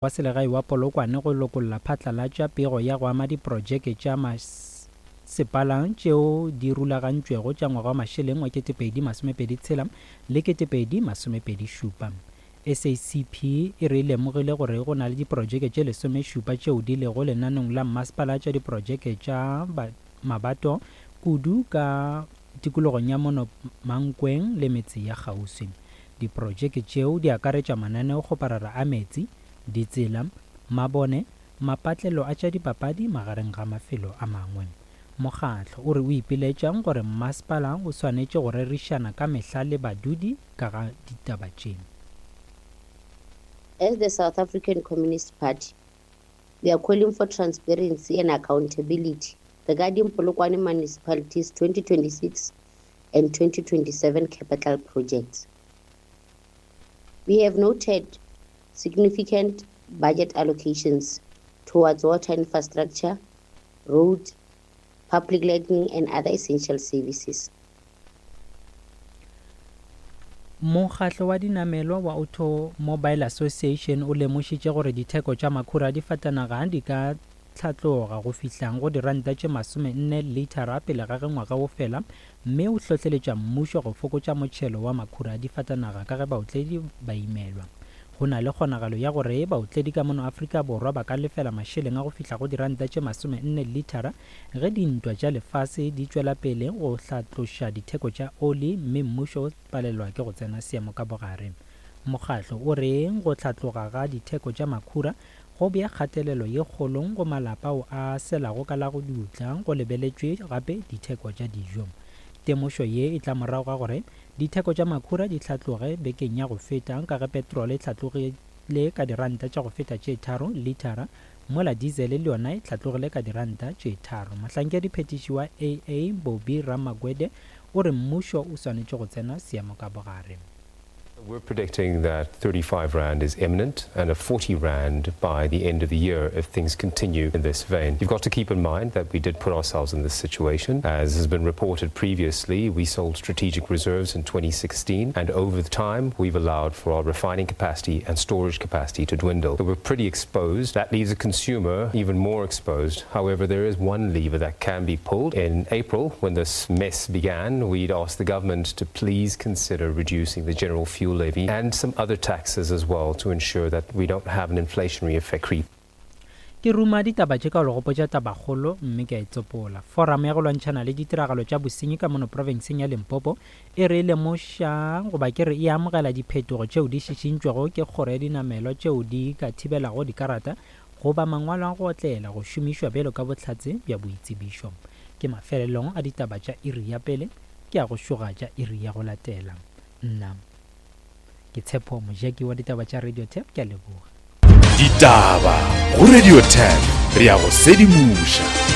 Wa Selegae wa Polokwane go lokolla phatlalatša pego ya go ama diprojeke tša masepala tšeo di rulagantšwego tša ngwaga wa mašeleng wa 2026 le 2027. SACP e re e lemogile gore go na le diprojeke tše lesomešupa tšeo di lego lenaneong la mmasepala tša diprojeke tša mabato kudu ka tikologong ya mono Mankweng le metse ya kgauswi. Diprojeke tšeo di akaretša mananeokgoparara a meetse, ditsela, mabone, mapatlelo a tša dipapadi magareng ga mafelo a mangwe. Mokgatlo o re o ipiletša gore mmasepala o swanetše go rerišana ka mehla le badudi ka ga ditaba tše. As the South African Communist Party, we are calling for transparency and accountability regarding Polokwane Municipality's 2026 and 2027 capital projects. We have noted significant budget allocations towards water infrastructure, roads, public lighting, and other essential services. Mokgatlo wa dinamelwa wa Automobile Association o lemošitše gore ditheko tša makhura a difatanaga di ka hlatloga go fihla go diranta tše 40 lithara pele ga ge ngwaga o fela mme o hlohleletša mmušo go fokotša motšhelo wa makhura a difatanaga ka ge baotledi ba imelwa. Go na le kgonagalo ya gore baotledi ka mono Afrika Borwa ba ka lefela mašeleng a go fihla go diranta tše 40 lithara ge dintwa tša lefase di tšwela pele go hlatloša ditheko tša oli mme mmušo o palelwa ke go tsena seemo ka bogare. Mokgatlo o re go hlatloga ga ditheko tša makhura go bea kgatelelo ye kgolo go malapa ao a selago ka la go dutla go lebeletšwe gape ditheko tša dijo. Temošo ye e tla morago ga gore ditheko tša makhura di hlatloge bekeng ya go feta ka ge petrole e hlatlogile ka diranta tša go feta tše tharo lithara mola dizele le yona e hlatlogile ka diranta tše tharo. Mohlankediphethiši wa AA Bobby Ramagwede o re mmušo o swanetše go tsena seemo ka bogare. We're predicting that 35 Rand is imminent and a 40 Rand by the end of the year if things continue in this vein. You've got to keep in mind that we did put ourselves in this situation. As has been reported previously, we sold strategic reserves in 2016, and over the time, we've allowed for our refining capacity and storage capacity to dwindle. So we're pretty exposed. That leaves the consumer even more exposed. However, there is one lever that can be pulled. In April, when this mess began, we'd asked the government to please consider reducing the general fuel levy and some other taxes as well to ensure that we don't have an inflationary effect creep. Ke ruma ditaba tše ka go le gopotša tabakgolo mme ke a e tsopola. Foramo ya go lwantšhana le ditiragalo tša bosenyi ka mono profenseng ya Limpopo e re e lemoša goba ke re e amogela diphetogo tšeo di šišintšwego ke kgoro ya dinamelwa tšeo di ka thibelago dikarata goba mangwalo a go otlela go šomišwa bjalo ka bohlatse bja boitsebišo. Ke mafelelong a ditaba tša iri ya pele, ke a go šoga tša iri ya go latela. Nna ke Tshepo Mojaki wa ditaba tša Radio Tap, ke a leboga. Ditaba go Radio Tap, re a go sedimoša.